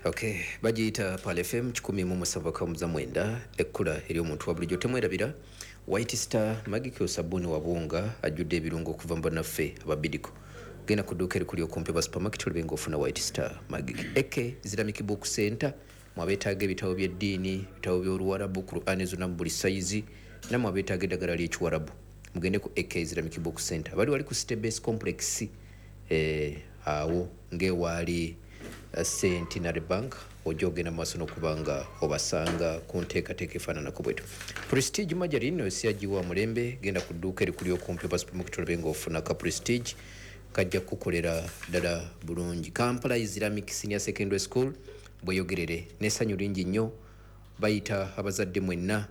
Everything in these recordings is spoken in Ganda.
Okay, bagiyita Pearl FM 107.9, ekkula eri omuntu wa bulijjo. Temwerabira White Star Magic, sabbuuni wabunga ajjudde ebirungo okuva mu bannaffe ababidiko. Genda ku dduuka erikuli okumpi ba supermarket olabe ng'ofuna White Star Magic. Eke Islamic Book Center, mwabeetaaga ebitabo by'eddiini, ebitabo by'Oluwarabu, Qur'ani zonna mu buli sayizi, nammwe abeetaaga eddagala ly'Ekiwarabu, mugende ku Eke Islamic Book Center. Bali wali ku Stebase Complex, awo ng'ewaali Centenary Bank. Ojja ogenda mu maaso n'okuba nga obasanga ku nteekateeka efaananako bwetu. Prestige Margarine osiyagiwa mulembe. Genda ku dduuka erikuli okumpi oba supermarket olabe ng'ofuna ka Prestige, kajja kukukolera ddala bulungi. Kampala Islamic Senior Secondary School bweyogerere n'essanyu lingi nnyo bayita abazadde mwenna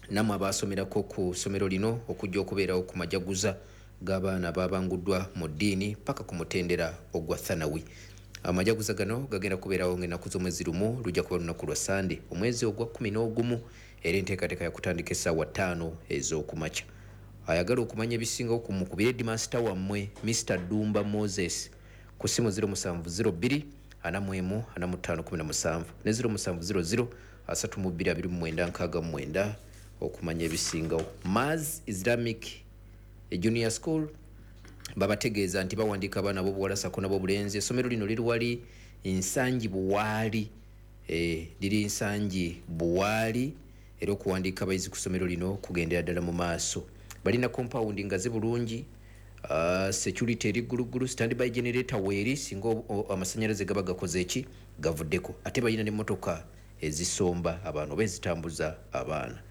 nammwe abaasomerako ku ssomero lino okujja okubeerawo ku majaguza g'abaana ababanguddwa mu ddiini paka ku mutendera ogwa Thanawi. Amajaguza gano gagenda kubeerawo ng'ennaku z'omwezi 1, lujja kuba lunaku lwa Sande, omwezi ogwa 11, era enteekateeka yakutandika essaawa 5 ez'okumakya. Ayagala okumanya ebisingawo ku mukubire headmaster wammwe Mr Dumba Moses ku simu 0702 41 45 17 ne 0700 32 29 69 okumanya ebisingawo. Mars Islamic Junior School babategeeza nti bawandiika abaana b'obuwala sako nab'obulenzi. Essomero lino liri wali Nsangi Buwaali, liri Nsangi Buwaali, era okuwandiika abayizi ku ssomero lino kugendera ddala mu maaso. Balina compound ngazi bulungi, security eri gguluggulu, standby generator weeri singa amasanyalaze gaba gakoze eki gavuddeko, ate balina n'emmotoka ezisomba abaana oba ezitambuza abaana.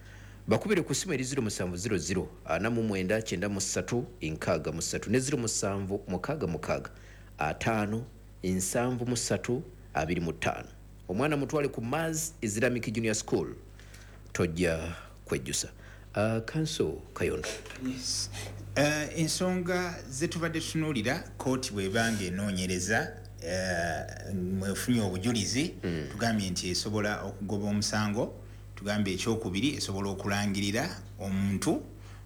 Bakubire ku simu eri 0700 49 93 63 ne 0766 5 73 25. Omwana mutwale ku Mars Islamic Junior School, tojja kwejjusa. Counsel Kayondo. Yes. Ensonga zetubadde tutunuulira, kooti bwebanga enoonyereza, mwefunye obujulizi, tugambye nti esobola okugoba omusango. Tugambye ekyokubiri, esobola okulangirira omuntu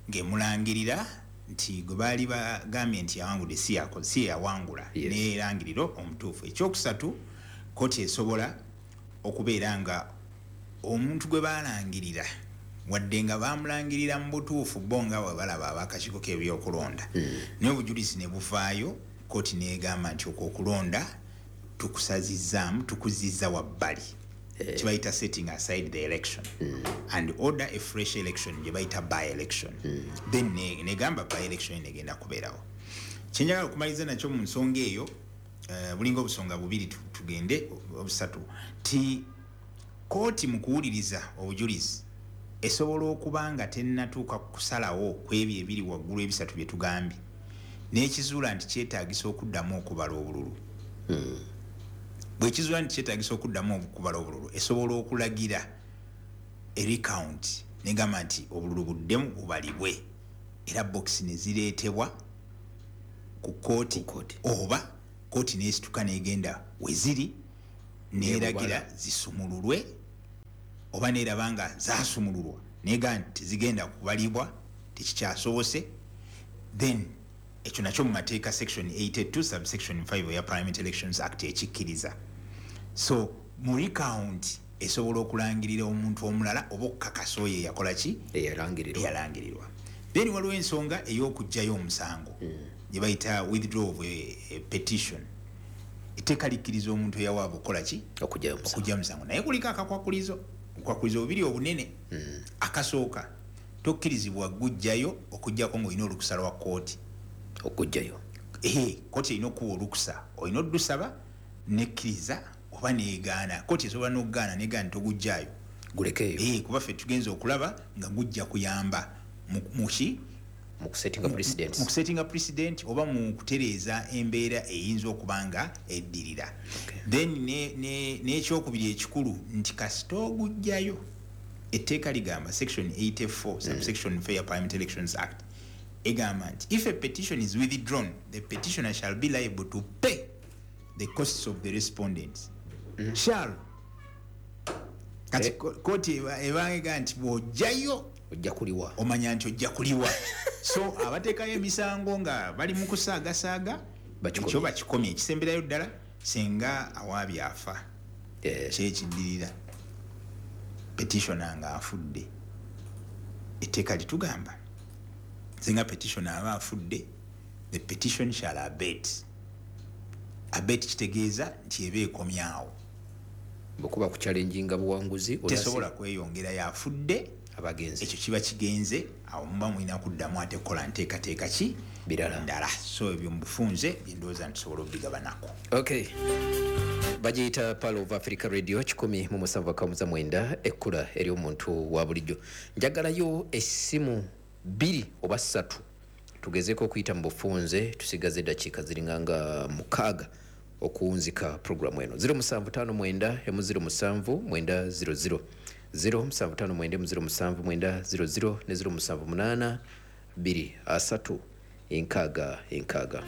ng'emulangirira nti gwe baali bagambye nti yawangudde si yawangula, nerangiriro omutuufu. Ekyokusatu, kooti esobola okubeera nga omuntu gwe balangirira, wadde nga bamulangirira mu butuufu bo nga bwe balaba abakakiiko k'ebyokulonda, naye obujulizi ne buvaayo, kooti negamba nti okwo okulonda tukusazizzaamu, tukuzizza wabbali, kibayita setting aside the election, and order a fresh election gye bayita by election. Then negamba by election negenda kubeerawo. Kyenjagala okumaliriza nakyo mu nsonga eyo, bulinga obusonga bubiri, tugende obusatu, ti kooti mu kuwuliriza obujulizi esobola okuba nga tennatuuka kusalawo ku ebyo ebiri waggulu ebisatu bye tugambye, n'ekizuula nti kyetaagisa okuddamu okubala obululu. Bwekizuula nti kyetaagisa okuddamu okubala obululu, esobola okulagira recount, negamba nti obululu buddemu bubalibwe, era bokisi ne zireetebwa ku kooti, oba kooti nesituka negenda weziri neragira zisumululwe, oba neraba nga zasumululwa nega nti tezigenda kubalibwa, tekikyasobose. Then ekyo nakyo mu mateeka section 82 subsection 5 eya Parliament Elections Act ekikkiriza. So mu recount esobola okulangirira omuntu omulala oba okukakasa oyo eyakola ki? Eyalangirirwa. Then waliwo ensonga ey'okugjayo omusango gye bayita withdraw of a petition. Etteeka likkiriza omuntu eyawaaba okukola ki? Okugyayo omusango, naye kuliko akakwakulizo, obukwakulizo bubiri obunene. Akasooka, tokkirizibwa gujjayo okugjako ng'olina olukusa lwa kooti. Okugjayo. Kooti erina okuwa olukusa, olina oddusaba nekkiriza oba negaana. Kooti esobola n'okugaana, negaana togujjaayo. Gulekeeyo. Kuba ffe tugenza okulaba nga gujja kuyamba muki? Mu kusettinga precedent oba mu kutereeza embeera eyinza okuba nga eddirira. Then n'ekyokubiri ekikulu nti kasita ogujjayo, etteeka ligamba, section 84 subsection 4 ya Parliament Elections Act egamba nti if a petition is withdrawn, the petitioner shall be liable to pay the costs of the respondents. Shall. Kati kooti ebanga nti bw'ojjayo ojja kuliwa, omanya nti ojja kuliwa. So abateekayo emisango nga bali mu kusaagasaaga, ekyo bakikomye. Ekisemberayo ddala, singa awaabye afa, Kyekiddirira, petitioner nga afudde, etteeka litugamba singa petitioner aba afudde, the petition shall abate. Abate kitegeeza nti eba ekomyawo. Bwekuba kuchallenginga buwanguzi, tesobola kweyongera, yafudde abagenzi, ekyo kiba kigenze. Awo muba mulina kuddamu ate kukola nteekateeka ki birala ndala. So ebyo mubufunze byendowooza nti tusobola obigabanako. Okay, bagiyita Pearl of Africa Radio 107.9, ekkula ery'omuntu wa bulijjo. Njagalayo essimu 2 oba 3 tugezeeko okuyita mu bufunze, tusigaze eddakiika ziringa nga 6 okuwunzika programu eno. 0759 07 900, 0759 07 900 ne 078 2 3 6 6.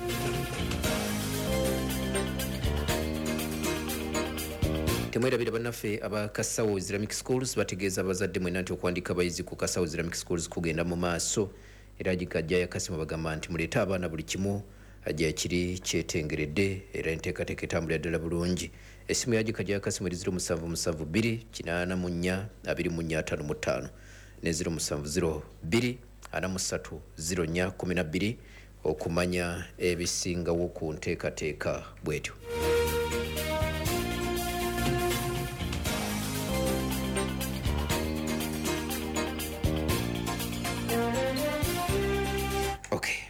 Temwerabira bannaffe aba Kasawo Islamic Schools bategeeza abazadde mwenna nti okuwandiika abayizi ku Kasawo Islamic Schools kugenda mu maaso, era Gikajja ya Kasimu bagamba nti muleete abaana, buli kimu ajja kiri kyetengeredde era enteekateeka etambulira ddala bulungi. Essimu ya Gikajja ya Kasimu eri 0772 84 24 55 ne 0702 43 04 12 okumanya ebisingawo ku nteekateeka bwetyo.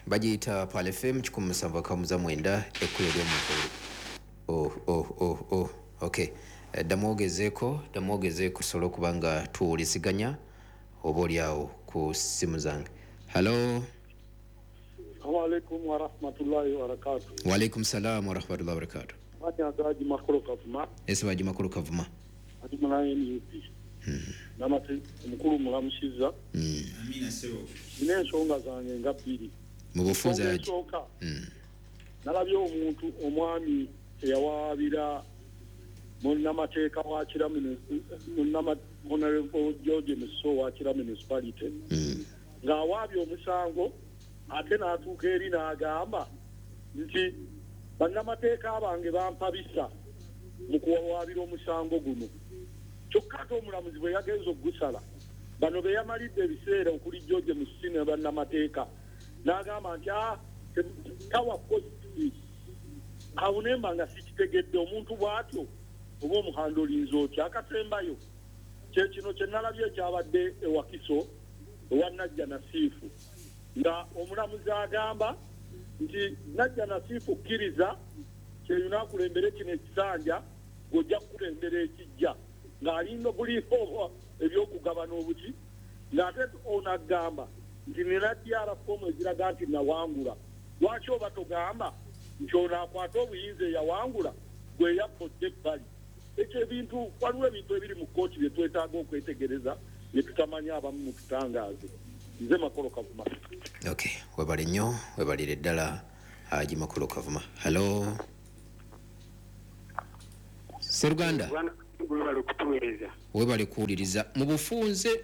Bagiyita Pearl FM 107.9, ekkula ery'omuntu. Oh, okay, ddamu ogezeeko tusobole okuba nga tuwuliziganya oba oli awo ku ssimu zange. Hallo. Assalamu alaikum warahmatullahi wabarakatuh. Wa alaikum salam warahmatullahi wabarakatuh. Baji Makulu Kavuma. Ese Baji Makulu Kavuma. Ati mulaye NUP. Namate omukulu mulamusiza. Amina sebo. Nina ensonga zange nga bbiri. Mu bufunze aje. Nalabye omuntu omwami eyawaabira munnamateeka wa Kira Honorable George Muso wa Kira Municipality. Ng'awaabye omusango ate n'atuuka eri n'agamba nti bannamateeka bange bampabisa mu kuwawaabira omusango guno. Kyokka ate omulamuzi bwe yagenze okugusala, bano be yamalidde ebiseera okuli George Muso ne bannamateeka n'agamba nti tawa kosti. Awo ne mba nga sikitegedde omuntu bw'atyo oba omuhando olinza otya. Akasembayo kye kino kye nalabye ekyabadde e Wakiso ewa Najja Nasiifu, nga omulamuzi agamba nti Najja Nasiifu kkiriza kyeyuna akulembere kino ekisanja ng'ojja kukulembera ekijja, ng'alinga buliiko ebyokugabana obuki, ng'ate ono agamba nti nina DR form eziraga nti nawangula. Lwaki oba togamba nti ono akwata obuyinza eyawangula gwe yakodde ebbali? Ekyo ebintu, waliwo ebintu ebiri mu kkooti bye twetaaga okwetegereza bye tutamanya, abamu mututangaaze. Nze Makolo Kavuma. Okay, webale nnyo, webalire ddala Haji Makolo Kavuma. Hello. Seruganda. Webale kuwuliriza. Mu bufunze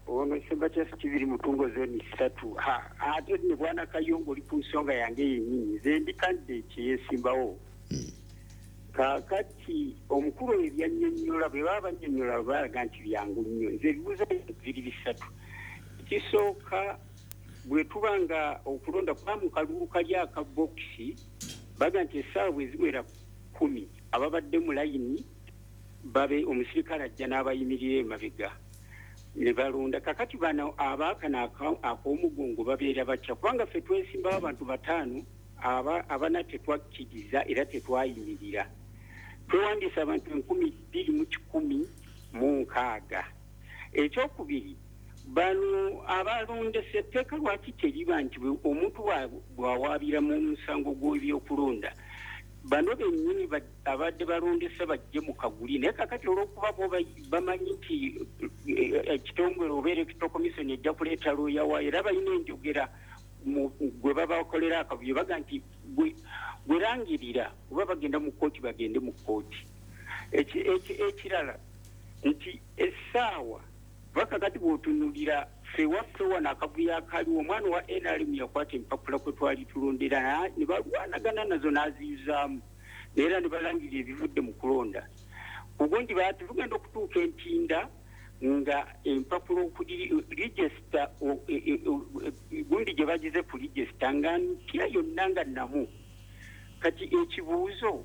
ono Semba kya kibiri mutungo zoni 3. Ate ne bwana Kayongo oli ku nsonga yange yennyini. Nze ndi candidate yesimbawo. Kaakati omukulu ebyannyonnyola bwe baba bannyonnyola balaga nti byangu nnyo. Nze ebibuuzo biri bisatu. Ekisooka, bwe tuba nga okulonda kuba mu kalulu kali akabokisi, baga nti essaawa bwe ziwera 10 ababadde mu layini babe omusirikale ajja n'abayimirira emabega ne balonda. Kakati bano abaakano ak'omugongo babeera batya? Kubanga ffe twesimbawo abantu 5 abana tetwakkiriza era tetwayimirira. Twewandiisa abantu 2160. Ekyokubiri, bano abalondesa etteeka lwaki teriba nti omuntu bw'awaabira mu musango gw'ebyokulonda bano bennyini abadde balondesa bajje mu kaguli, naye kakati olw'okuba bo bamanyi nti ekitongole oba Electoral Commission ejja kuleeta looya waayo, era balina enjogera gwe babakolera akavuyo, baga nti gwerangirira oba bagenda mu kkooti bagende mu kkooti. Ekirala nti essaawa bakakati bw'otunuulira ffe waffe wano akavuyo akaliwo, omwana wa NRM yakwata empapula kwe twali tulondera ne balwanagana nazo n'aziyuzaamu, era ne balangirira ebivudde mu kulonda. Ugundi batugenda okutuuka entinda nga empapula okuli register gundi gye bagize ku register nga mpya yonna nga nnamu. Kati ekibuuzo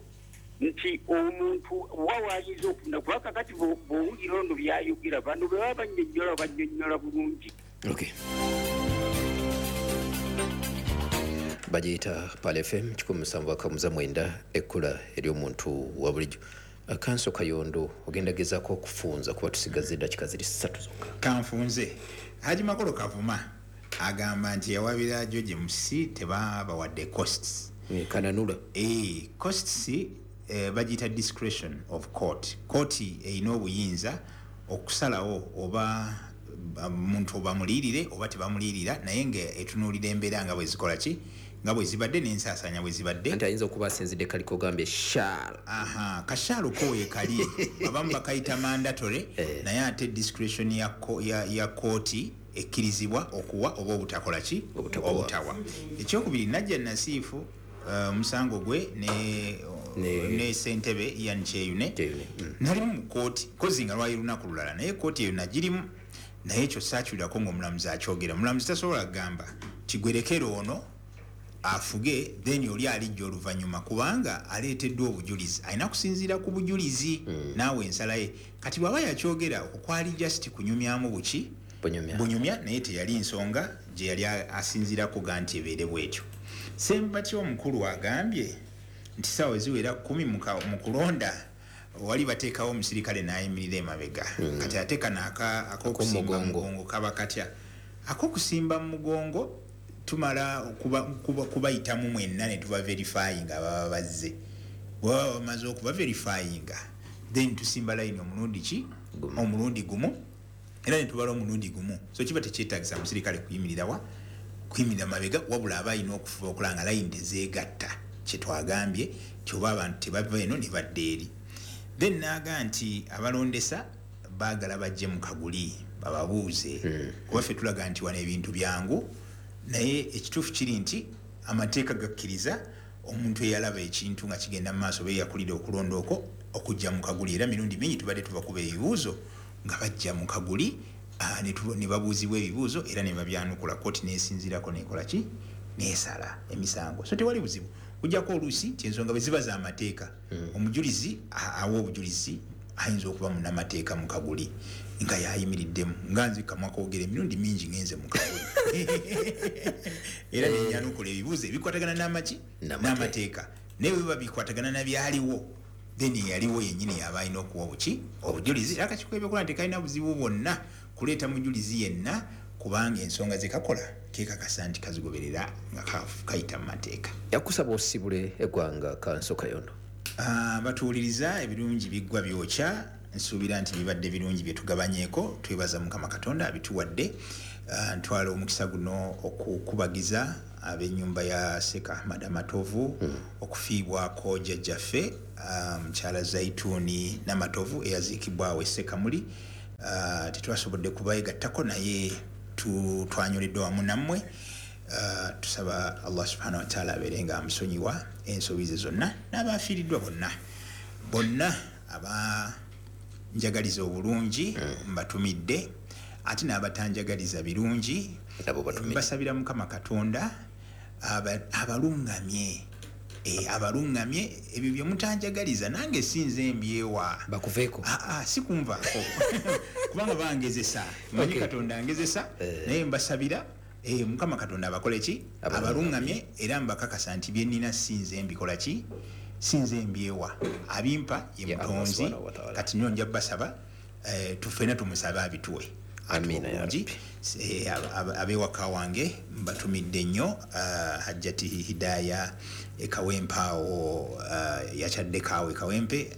nti omuntu wawayiza okufuna kuba kakati bw'owulira ono byayogera bano bwe baba bannyonnyola bulungi. Okay. Bagiyita Pearl FM 179 ekkula ery'omuntu wa bulijjo. Kanso Kayondo ogenda gezaako okufunza kuba tusigaze eddakiika ziri 3 zokka. Kanfunze. Haji Makolo Kavuma agamba nti yawabira George Musisi tebabawadde costs. Kananula. Costs bagiyita discretion of court. Kooti erina obuyinza okusalawo oba muntu bamuliirire oba tebamulirira, naye nga etunuulira embeera nga bwe zikola ki, nga bwe zibadde n'ensaasaanya bwe zibadde. Anti ayinza okuba asinzidde kaliko ogambye shaal. Aha, kashaalo ko weekali abamu bakayita mandatory, naye ate discretion ya kooti ekkirizibwa okuwa oba obutakola ki, obutawa. Ekyokubiri, Najja Nasiifu omusango gwe ne ssentebe Ian Kyeyune nalimu mu kooti, kozi nga lwali lunaku lulala, naye kooti eyo nagirimu, naye ekyo saakiwulirako ng'omulamuzi akyogera. Omulamuzi tasobola kugamba kigwerekere ono afuge then oli alijja oluvannyuma, kubanga aleeteddwa obujulizi, alina kusinziira ku bujulizi naawe ensala ye. Kati bw'aba yakyogera okwo kwali just kunyumyamu buki bunyumya, naye teyali nsonga gye yali asinziirako ga nti ebeere bwetyo. Ssembatya omukulu agambye nti ssaawa eziwera 10 mu kulonda wali bateekawo omusirikale n'ayimirira emabega. Kati ate kano ak'okusimba mu mugongo kaba katya? Ak'okusimba mu mugongo tumala kubayitamu mwenna ne tuba verifying ababa bazze. Bwe baba bamaze okuba verifying, then tusimba layini omulundi ki? Omulundi gumu, era ne tubala omulundi gumu. So kiba tekyetaagisa musirikale kuyimirira wa? Kuyimirira mabega, wabula aba alina okufuba okulaba nga layini tezeegatta. Kye twagambye nti oba abantu tebava eno ne badda eri. Then n'aga nti abalondesa baagala bajje mu kaguli bababuuze, kuba ffe tulaga nti wano ebintu byangu, naye ekituufu kiri nti amateeka gakkiriza omuntu eyalaba ekintu nga kigenda mu maaso oba eyakulira okulonda okwo okujja mu kaguli. Era mirundi mingi tubadde tubakuba ebibuuzo nga bajja mu kaguli ne babuuzibwa ebibuuzo era ne babyanukula, kooti n'esinziirako n'ekola ki, n'esala emisango. So tewali buzibu, kujjako oluusi nti ensonga bwe ziba z'amateeka, omujulizi awa obujulizi ayinza okuba munnamateeka mu kaguli nga yayimiriddemu, nga nze kamwa koogera emirundi mingi ngenze mu kaguli era nenyanukula ebibuuzo ebikwatagana n'amaki n'amateeka, naye bwe biba bikwatagana na byaliwo then eyaliwo yennyini yaba alina okuwa obuki obujulizi. Era akakiiko k'ebyokulonda tekalina buzibu bwonna kuleeta mujulizi yenna, kubanga ensonga ze kakola keekakasa nti kazigoberera nga kayita mu mateeka. Yakusaba osibule eggwanga Kanso Kayondo. Batuwuliriza ebirungi biggwa byokya, nsuubira nti bibadde birungi bye tugabanyeeko. Twebaza Mukama Katonda abituwadde. Ntwala omukisa guno okukubagiza ab'ennyumba ya Sheikh Ahmad Amatovu okufiibwako jjajjaffe mukyala Zaituni Namatovu eyaziikibwawo e Ssekamuli. Tetwasobodde kubayegattako, naye twanyoleddwa wamu nammwe. Tusaba Allah subhanahu wa ta'ala abeere nga amusonyiwa ensobi ze zonna n'abafiiriddwa bonna bonna abanjagaliza obulungi mbatumidde, ate n'abatanjagaliza birungi mbasabira Mukama Katonda abalungamye abalungamye ebyo bye mutanjagaliza nange sinze mbyewa bakuveeko. Si kunvaako kubanga bangezesa, manyi Katonda angezesa, naye mbasabira Mukama Katonda abakole ki, abalungamye, era mbakakasa nti bye nnina sinze mbikola ki, sinze mbyewa, abimpa ye Mutonzi. Kati nnyo nja basaba tufena tumusabe abituwe. Amina ya Rabbi. Ab'ewaka wange mbatumidde nnyo. Hajjati Hidaya Ekawempe awo, yakyaddeko awo Ekawempe,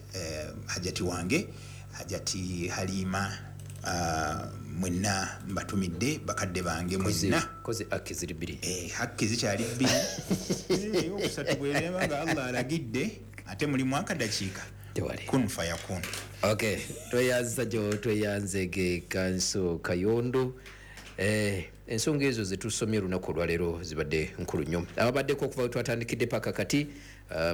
hajjati wange Hajjati Halima, mwenna mbatumidde, bakadde bange mwenna. Kozi haki ziri bbiri. Haki zikyali bbiri. Okusatu bwereba nga Allah alagidde, ate mulimu akadakiika kun fayakun. Okay, tweyanza jo tweyanzege Kanso Kayondo. Ensonga ezo zetusomye olunaku olwaleero zibadde nkulu nnyo. Ababaddeko okuva we twatandikidde paka kati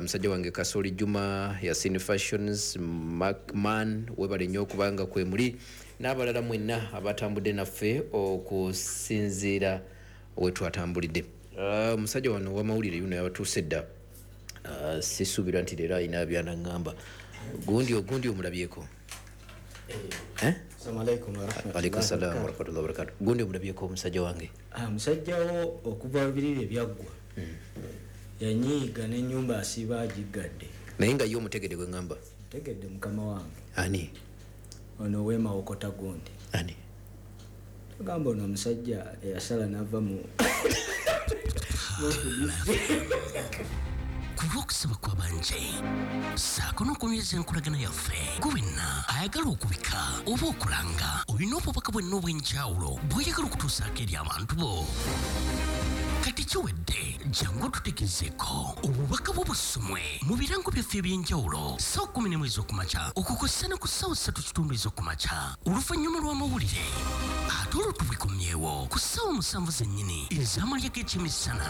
Musajja wange Kasoli Juma, Yasin Fashions, Markman, webale nnyo okubanga kwe muli n'abalala mwenna abatambudde naffe okusinziira we twatambulidde. Omusajja wano ow'amawulire yuno yabatuuse dda. Sisuubira nti leero alina byanaŋŋamba. Gundi ogundi omulabyeko? Eh? Assalamu alaikum warahmatullahi Alaikum salaam warahmatullahi wabarakatuh. Gundi omulabyeko omusajja wange? Musajja wo okuva biriri ebyaggwa yanyiiga n'ennyumba asiiba agiggadde. Naye nga ye omutegedde gwe ŋŋamba? Ntegedde mukama wange. Ani? Ono ow'emawokota gundi. Ani? Tugamba ono omusajja eyasala n'ava mu Ku lw'okusaba kw'abanje ssaako n'okunyweza enkolagana yaffe, gwe wenna ayagala okubika oba okulanga olina obubaka bwenna obw'enjawulo bw'oyagala okutuusaako eri abantu bo. Kati kiwedde, jangu otutegezeeko obubaka bwo busomwe mu birango byaffe eby'enjawulo ssaawa 11 ez'okumakya okukosa ne ku ssaawa 3:15 ez'okumakya oluvannyuma lw'amawulire, ate olwo tubikomyewo ku ssaawa 7 zennyini ez'amalya g'ekyemisana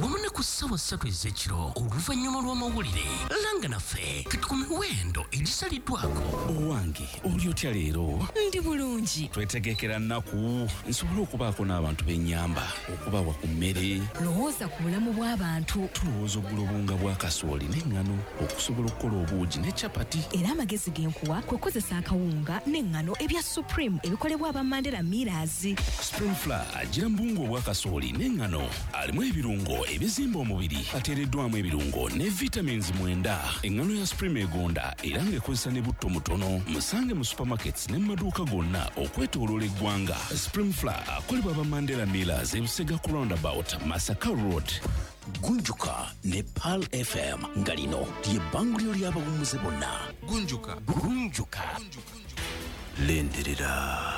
wamu ne ku ssaawa 3 ez'ekiro oluvannyuma lw'amawulire. Langa naffe kati ku miwendo egisaliddwako. Owange, oli otya leero? Ndi bulungi. Twetegekera nnaku nsobole okubaako n'abantu b'ennyamba okubawa ku mmere. Lowooza ku bulamu bw'abantu. Tulowooza okugula obuwunga bwa kasooli n'eŋŋano okusobola okukola obuugi ne capati. Era amagezi ge nkuwa kwe kukozesa akawunga n'eŋŋano ebya Supreme ebikolebwa aba Mandela Millers. Supreme Flour agira mu buwunga obwa kasooli n'eŋŋano, alimu ebirungo ebizimba omubiri, ateereddwamu ebirungo ne vitamins 9. Eŋŋano ya Supreme egonda era ng'ekozesa ne butto mutono. Musange mu supermarkets ne mu maduuka gonna okwetooloola eggwanga. Supreme Flour akolebwa aba Mandela Millers e Busega ku roundabout Masaka Road. Gunjuka ne Pearl FM nga lino lye bbanguliro ly'abawummuze bonna. Gunjuka. Gunjuka. Lindirira.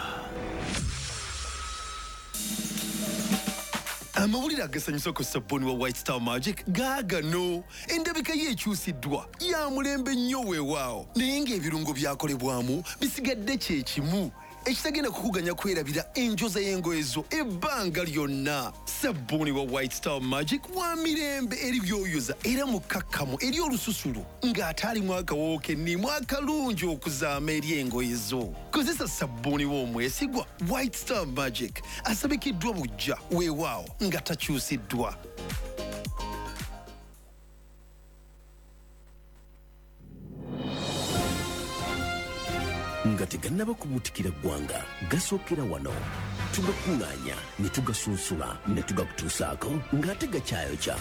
Amawulire agasanyusa ku sabbuuni wa White Star Magic gaagano. Endabika ye ekyusiddwa ya mulembe nnyo weewaawo, naye ng'ebirungo byakolebwamu bisigadde kye kimu ekitagenda kukuganya kwerabira enjoza y'engoye zo ebbanga lyonna. Sabbuuni wa White Star Magic wa mirembe eri by'oyoza era mukkakkamu eri olususu ng'ate alimu akawoowo kennimu akalungi okuzaama eri engoye zo. Kozesa sabbuuni w'omwesigwa White Star Magic asabikiddwa buggya weewaawo nga takyusiddwa. Nga tegannaba kubuutikira ggwanga, gasookera wano. Tugakuŋŋaanya ne tugasunsula ne tugakutuusaako ng'ate gakyayokya.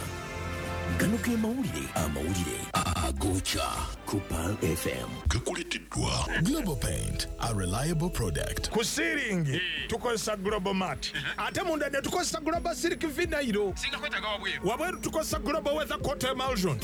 Gano ge mawulire, amawulire agokya ku Pearl FM. Gakuleeteddwa Global Paint, a reliable product. Ku ceiling tukozesa Global Mat, ate munda ne tukozesa Global Silk Vinyl. Singa kwetaaga wabweru. Wabweru tukozesa Global Weather Coat Emulsion.